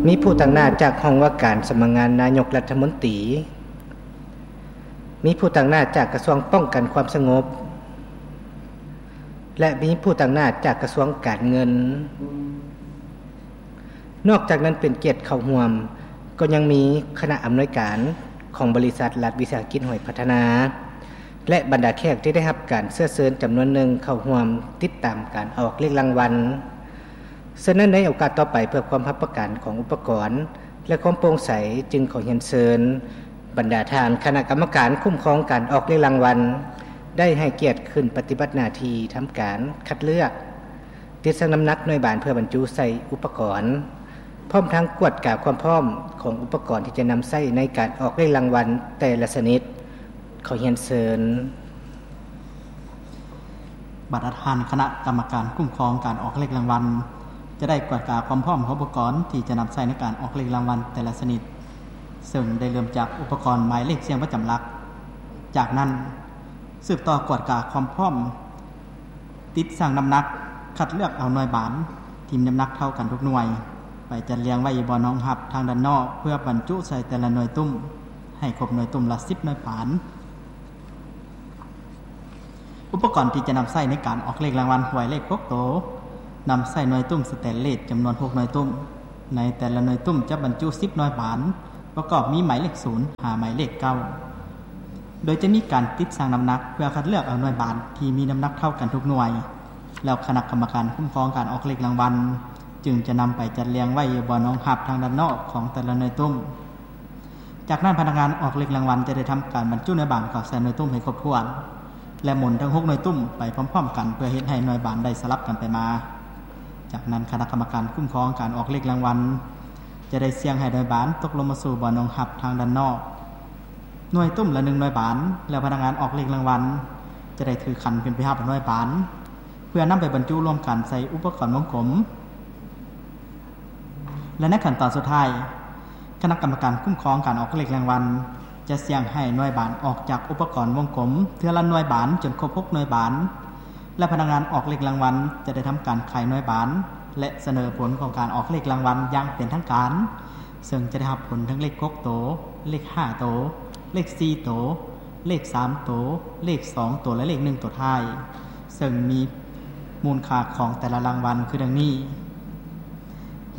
ມີຜູ້ຕາງໜ້າຈາກຫ້ອງວ່າການສຳນັກງານນາຍົກລັດຖະມົນຕີ, ມີຜູ້ຕາງໜ້າຈາກກະຊວງປ້ອງກັນຄວາມສະຫງົບ ແລະ ມີຜູ້ຕາງໜ້າຈາກກະຊວງການເງິນ. ນອກຈາກນັ້ນເປັນກຽດເຂົ້າຮ່ວມ ກໍຍັງມີຄະນະອຳນວຍການຂອງບໍລິສັດລັດວິສາຫະກິດຫວຍພັດທະນາ ແລະ ບັນດາແຂກທີ່ໄດ້ຮັບການເຊື້ອເຊີນຈຳນວນໜຶ່ງເຂົ້າຮ່ວມຕິດຕາມການອອກເລກລາງວັນ. ສະນັ້ນໃນໂອກາດຕໍ່ໄປ ເພື່ອຄວາມຮັບປະກັນຂອງອຸປະກອນ ແລະ ຄວາມໂປ່ງໃສ ຈຶ່ງຂໍຮຽນເຊີນບັນດາທ່ານຄະນະກຳມະການຄຸ້ມຄອງການອອກເລກລາງວັນ ໄດ້ໃຫ້ກຽດຂຶ້ນປະຕິບັດໜ້າທີ່ທຳການຄັດເລືອກ ຕິດຊັ່ງນ້ຳໜັກໜ່ວຍບານເພື່ອບັນຈຸໃສ່ອຸປະກອນ, ພ້ອມທັງກວດກາຄວາມພ້ອມຂອງອຸປະກອນທີ່ຈະນຳໃຊ້ໃນການອອກເລກລາງວັນແຕ່ລະຊະນິດ. ຂໍຮຽນເຊີນ. ບັນດາທ່ານຄະນະກຳມະການຄຸ້ມຄອງການອອກເລກລາງວັນ ຈະໄດ້ກວດກາຄວາມພ້ອມຂອງອຸປະກອນທີ່ຈະນຳໃຊ້ໃນການອອກເລກລາງວັນແຕ່ລະຊະນິດ, ເຊິ່ງໄດ້ເລີ່ມຈາກອຸປະກອນໝາຍເລກສ່ຽງປະຈຳຫຼັກ. ຈາກນັ້ນ ສືບຕໍ່ກວດກາຄວາມພ້ອມ ຕິດຊັ່ງນ້ຳໜັກ, ຄັດເລືອກເອົາໜ່ວຍບານທີ່ມີນ້ຳໜັກເທົ່າກັນທຸກໜ່ວຍ ໄປຈັດລຽງໄວ້ຢູ່ບ່ອນຮອງຮັບທາງດ້ານນອກ ເພື່ອບັນຈຸໃສ່ແຕ່ລະໜ່ວຍຕຸ້ມ ໃຫ້ຄົບໜ່ວຍຕຸ້ມລະສິບໜ່ວຍບານ. ອຸປະກອນທີ່ຈະນຳໃຊ້ໃນການອອກເລກລາງວັນຫວຍເລກຫົກໂຕ ນຳໃຊ້ໜ່ວຍຕຸ້ມສະແຕນເລດຈຳນວນຫົກໜ່ວຍຕຸ້ມ. ໃນແຕ່ລະໜ່ວຍຕຸ້ມຈະບັນຈຸສິບໜ່ວຍບານ ປະກອບມີໝາຍເລກສູນຫາໝາຍເລກເກົ້າ ໂດຍຈະມີການຕິດຊັ່ງນ້ຳໜັກເພື່ອຄັດເລືອກເອົາໜ່ວຍບານທີ່ມີນ້ຳໜັກເທົ່າກັນທຸກໜ່ວຍ, ແລ້ວຄະນະກຳມະການຄຸ້ມຄອງການອອກເລກລາງວັນ ຈຶ່ງຈະນຳໄປຈັດລຽງໄວ້ຢູ່ບ່ອນຮອງຮັບທາງດ້ານນອກຂອງແຕ່ລະໜ່ວຍຕຸ້ມ. ຈາກນັ້ນພະນັກງານອອກເລກລາງວັນຈະໄດ້ທຳການບັນຈຸໜ່ວຍບານເຂົ້າໃສ່ໜ່ວຍຕຸ້ມໃຫ້ຄົບຖ້ວນ ແລະ ໝູນທັງຫົກໜ່ວຍຕຸ້ມໄປພ້ອມໆກັນ ເພື່ອເຮັດໃຫ້ໜ່ວຍບານໄດ້ສະຫຼັບກັນໄປມາ. ຈາກນັ້ນຄະນະກຳມະການຄຸ້ມຄອງການອອກເລກລາງວັນ ຈະໄດ້ສ່ຽງໃຫ້ໜ່ວຍບານຕົກລົງມາສູ່ບ່ອນຮອງຮັບທາງດ້ານນອກ ໜ່ວຍຕຸ້ມລະໜຶ່ງໜ່ວຍບານ, ແລ້ວພະນັກງານອອກເລກລາງວັນຈະໄດ້ຖືຂັນຂຶ້ນໄປຮັບໜ່ວຍບານ ເພື່ອນຳໄປບັນຈຸລວມກັນໃສ່ອຸປະກອນວົງກົມ. ແລະ ໃນຂັ້ນຕອນສຸດທ້າຍ, ຄະນະກຳມະການຄຸ້ມຄອງການອອກເລກລາງວັນ ຈະສ່ຽງໃຫ້ໜ່ວຍບານອອກຈາກອຸປະກອນວົງກົມເທື່ອລະໜ່ວຍບານຈົນຄົບຫົກໜ່ວຍບານ ແລະ ພະນັກງານອອກເລກລາງວັນຈະໄດ້ທຳການຂາຍໜ່ວຍບານ ແລະ ສະເໜີຜົນຂອງການອອກເລກລາງວັນຢ່າງເປັນທາງການ, ເຊິ່ງຈະໄດ້ຮັບຜົນທັງເລກຫົກໂຕ, ເລກຫ້າໂຕ, ເລກສີ່ໂຕ, ເລກສາມໂຕ, ເລກສອງໂຕ ແລະ ເລກໜຶ່ງໂຕທ້າຍ, ເຊິ່ງມີມູນຄ່າຂອງແຕ່ລະລາງວັນຄືດັ່ງນີ້.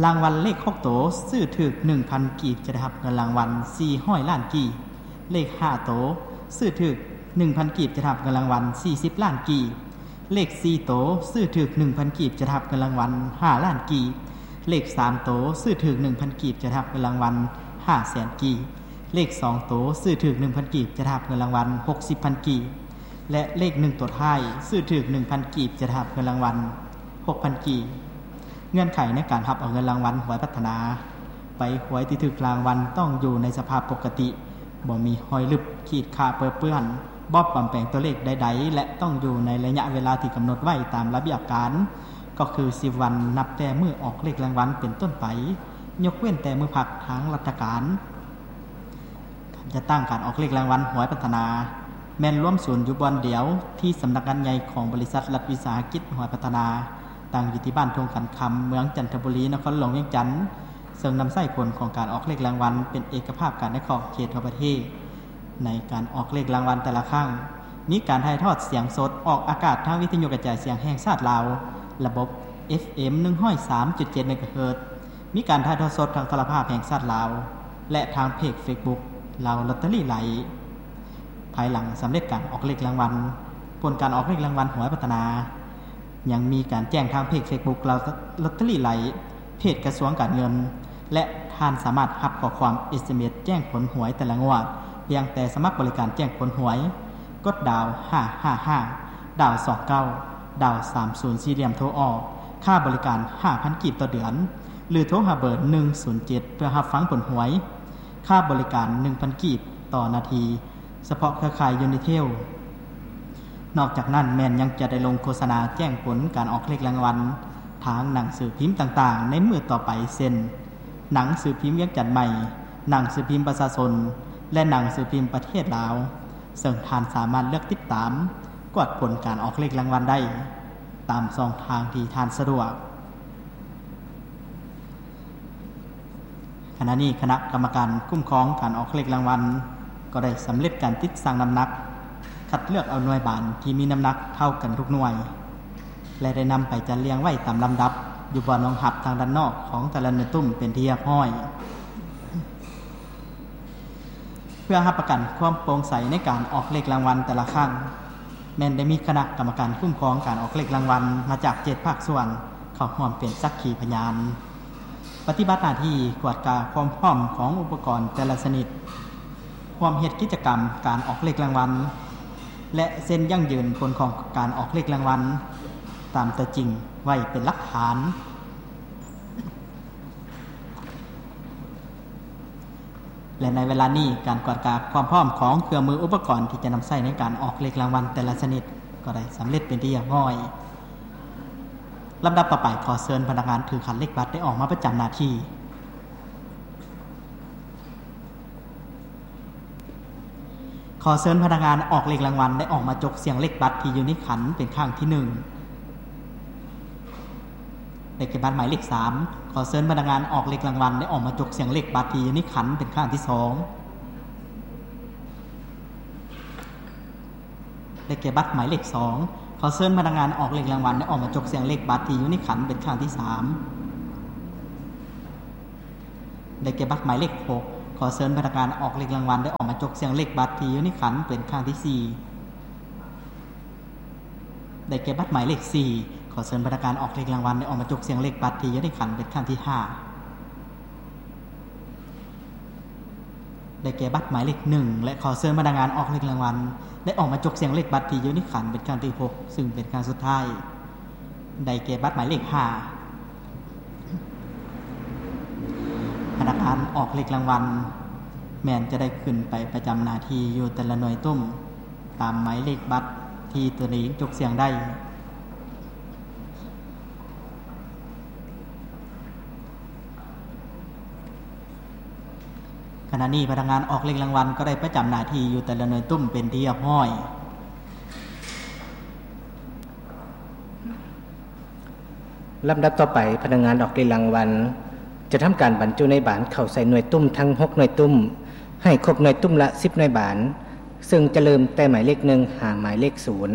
ລາງວັນເລກຫົກໂຕ ຊື້ຖືກໜຶ່ງພັນກີບ ຈະໄດ້ຮັບເງິນລາງວັນສີ່ຮ້ອຍລ້ານກີບ. ເລກຫ້າໂຕ ຊື້ຖືກໜຶ່ງພັນກີບ ຈະໄດ້ຮັບເງິນລາງວັນສີ່ສິບລ້ານກີບ. ເລກສີ່ໂຕ ຊື້ຖືກໜຶ່ງພັນກີບ ຈະໄດ້ຮັບເງິນລາງວັນຫ້າລ້ານກີບ. ເລກສາມໂຕ ຊື້ຖືກໜຶ່ງພັນກີບ ຈະໄດ້ຮັບເງິນລາງວັນຫ້າແສນກີບ. ເລກສອງໂຕ ຊື້ຖືກໜຶ່ງພັນກີບ ຈະໄດ້ຮັບເງິນລາງວັນຫົກສິບພັນກີບ ແລະ ເລກໜຶ່ງໂຕທ້າຍ ຊື້ຖືກໜຶ່ງພັນກີບ ຈະໄດ້ຮັບເງິນລາງວັນຫົກພັນກີບ. ເງື່ອນໄຂໃນການຮັບເອົາເງິນລາງວັນຫວຍພັດທະນາ ໃບຫວຍທີ່ຖືກລາງວັນຕ້ອງຢູ່ໃນສະພາບປົກກະຕິ, ບໍ່ມີຮອຍລຶບ, ຂີດຂາດເປິເປື້ອນ, ບໍ່ປອມແປງຕົວເລກໃດໆ ແລະ ຕ້ອງຢູ່ໃນໄລຍະເວລາທີ່ກຳນົດໄວ້ຕາມລະບຽບການ, ກໍຄືສິບວັນນັບແຕ່ມື້ອອກເລກລາງວັນເປັນຕົ້ນໄປ, ຍົກເວັ້ນແຕ່ມື້ພັກທາງລັດຖະການ. ການຈັດຕັ້ງການອອກເລກລາງວັນຫວຍພັດທະນາ ແມ່ນລວມສູນຢູ່ບ່ອນດຽວທີ່ສຳນັກງານໃຫຍ່ຂອງບໍລິສັດລັດວິສາຫະກິດຫວຍພັດທະນາ, ຕັ້ງຢູ່ທີ່ບ້ານທົ່ງຂັນຄຳ, ເມືອງຈັນທະບູລີ, ນະຄອນຫຼວງວຽງຈັນ, ເຊິ່ງນຳໃຊ້ຜົນຂອງການອອກເລກລາງວັນເປັນເອກະພາບກັນໃນຂອບເຂດທົ່ວປະເທດ. ໃນການອອກເລກລາງວັນແຕ່ລະຄັ້ງ, ມີການຖ່າຍທອດສຽງສົດອອກອາກາດທາງວິທະຍຸກະຈາຍສຽງແຫ່ງຊາດລາວ, ລະບົບ ເອັຟເອັມ ໜຶ່ງຮ້ອຍສາມຈຸດເຈັດ ເມກາເຮີດ, ມີການຖ່າຍທອດສົດທາງໂທລະພາບແຫ່ງຊາດລາວ ແລະ ທາງເພຈເຟສບຸກ ລາວລອດເຕີຣີໄລ. ພາຍຫຼັງສຳເລັດການອອກເລກລາງວັນ, ຜົນການອອກເລກລາງວັນຫວຍພັດທະນາ ຍັງມີການແຈ້ງທາງເພຈເຟສບຸກ ລາວລອດເຕີຣີໄລ, ເພຈກະຊວງການເງິນ ແລະ ທ່ານສາມາດຮັບຂໍ້ຄວາມ ເອສເອັມເອສ ແຈ້ງຜົນຫວຍແຕ່ລະງວດ ພຽງແຕ່ສະໝັກບໍລິການແຈ້ງຜົນຫວຍ, ກົດດາວຫ້າຫ້າຫ້າ ດາວສອງເກົ້າ ດາວສາມສູນສີ່ຫຼ່ຽມໂທອອກ, ຄ່າບໍລິການຫ້າພັນກີບຕໍ່ເດືອນ ຫຼື ໂທຫາເບີໜຶ່ງສູນເຈັດ ເພື່ອຮັບຟັງຜົນຫວຍ, ຄ່າບໍລິການໜຶ່ງພັນກີບຕໍ່ນາທີ, ສະເພາະເຄືອຂ່າຍຢູນິເທວ. ນອກຈາກນັ້ນແມ່ນຍັງຈະໄດ້ລົງໂຄສະນາແຈ້ງຜົນການອອກເລກລາງວັນທາງໜັງສືພິມຕ່າງໆໃນມື້ຕໍ່ໄປ ເຊັ່ນ ໜັງສືພິມວຽງຈັນໃໝ່, ໜັງສືພິມປະຊາຊົນ ແລະ ໜັງສືພິມປະເທດລາວ, ເຊິ່ງທ່ານສາມາດເລືອກຕິດຕາມກວດຜົນການອອກເລກລາງວັນໄດ້ຕາມຊ່ອງທາງທີ່ທ່ານສະດວກ. ຂະນະນີ້ຄະນະກຳມະການຄຸ້ມຄອງການອອກເລກລາງວັນ ກໍໄດ້ສຳເລັດການຕິດຊັ່ງນ້ຳໜັກ, ຄັດເລືອກເອົາໜ່ວຍບານທີ່ມີນ້ຳໜັກເທົ່າກັນທຸກໜ່ວຍ ແລະ ໄດ້ນຳໄປຈັດລຽງໄວ້ຕາມລຳດັບ ຢູ່ບ່ອນຮອງຮັບທາງດ້ານນອກຂອງແຕ່ລະໜ່ວຍຕຸ້ມເປັນທີ່ຮຽບຮ້ອຍ. ເພື່ອຮັບປະກັນຄວາມໂປ່ງໃສໃນການອອກເລກລາງວັນແຕ່ລະຄັ້ງ, ແມ່ນໄດ້ມີຄະນະກຳມະການຄຸ້ມຄອງການອອກເລກລາງວັນມາຈາກເຈັດພາກສ່ວນເຂົ້າຮ່ວມເປັນສັກຂີພະຍານ, ປະຕິບັດໜ້າທີ່ກວດກາຄວາມພ້ອມຂອງອຸປະກອນແຕ່ລະຊະນິດ, ຮ່ວມເຮັດກິດຈະກຳການອອກເລກລາງວັນ ແລະ ເຊັນຢັ້ງຢືນຜົນຂອງການອອກເລກລາງວັນຕາມຕົວຈິງໄວ້ເປັນຫຼັກຖານ. ແລະ ໃນເວລານີ້ ການກວດກາຄວາມພ້ອມຂອງເຄື່ອງມືອຸປະກອນທີ່ຈະນຳໃຊ້ໃນການອອກເລກລາງວັນແຕ່ລະຊະນິດ ກໍໄດ້ສຳເລັດເປັນທີ່ຮຽບຮ້ອຍ. ລຳດັບຕໍ່ໄປ, ຂໍເຊີນພະນັກງານຖືຂັນເລກບັດໄດ້ອອກມາປະຈຳໜ້າທີ່. ຂໍເຊີນພະນັກງານອອກເລກລາງວັນໄດ້ອອກມາຈົກສ່ຽງເລກບັດທີ່ຢູ່ໃນຂັນເປັນຄັ້ງທີໜຶ່ງ. ໄດ້ແກ່ບັດໝາຍເລກສາມ. ຂໍເຊີນພະນັກງານອອກເລກລາງວັນໄດ້ອອກມາຈົກສ່ຽງເລກບັດທີ່ຢູ່ໃນຂັນເປັນຄັ້ງທີສອງ. ໄດ້ແກ່ບັດໝາຍເລກສອງ. ຂໍເຊີນພະນັກງານອອກເລກລາງວັນໄດ້ອອກມາຈົກສ່ຽງເລກບັດທີ່ຢູ່ໃນຂັນເປັນຄັ້ງທີສາມ. ໄດ້ແກ່ບັດໝາຍເລກຫົກ. ຂໍເຊີນພະນັກງານອອກເລກລາງວັນໄດ້ອອກມາຈົກສ່ຽງເລກບັດທີ່ຢູ່ໃນຂັນເປັນຄັ້ງທີສີ່. ໄດ້ແກ່ບັດໝາຍເລກສີ່. ຂໍເຊີນພະນັກງານອອກເລກລາງວັນໄດ້ອອກມາຈົກສ່ຽງເລກບັດທີ່ຢູ່ໃນຂັນເປັນຄັ້ງທີຫ້າ. ໄດ້ແກ່ບັດໝາຍເລກໜຶ່ງ ແລະ ຂໍເຊີນພະນັກງານອອກເລກລາງວັນໄດ້ອອກມາຈົກສ່ຽງເລກບັດທີ່ຢູ່ໃນຂັນເປັນຄັ້ງທີຫົກ ຊຶ່ງເປັນຄັ້ງສຸດທ້າຍ. ໄດ້ແກ່ບັດໝາຍເລກຫ້າ. ພະນັກງານອອກເລກລາງວັນແມ່ນຈະໄດ້ຂຶ້ນໄປປະຈຳໜ້າທີ່ຢູ່ແຕ່ລະໜ່ວຍຕຸ້ມ ຕາມໝາຍເລກບັດທີ່ຕົນເອງຈົກສ່ຽງໄດ້. ຂະນະນີ້ພະນັກງານອອກເລກລາງວັນກໍໄດ້ປະຈຳໜ້າທີ່ຢູ່ແຕ່ລະໜ່ວຍຕຸ້ມເປັນທີ່ຮຽບຮ້ອຍ. ລຳດັບຕໍ່ໄປ, ພະນັກງານອອກເລກລາງວັນຈະທຳການບັນຈຸໜ່ວຍບານເຂົ້າໃສ່ໜ່ວຍຕຸ້ມທັງຫົກໜ່ວຍຕຸ້ມ ໃຫ້ຄົບໜ່ວຍຕຸ້ມລະສິບໜ່ວຍບານ, ເຊິ່ງຈະເລີ່ມແຕ່ໝາຍເລກໜຶ່ງຫາໝາຍເລກສູນ.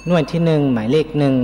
ໜ່ວຍທີໜຶ່ງ ໝາຍເລກໜຶ່ງ.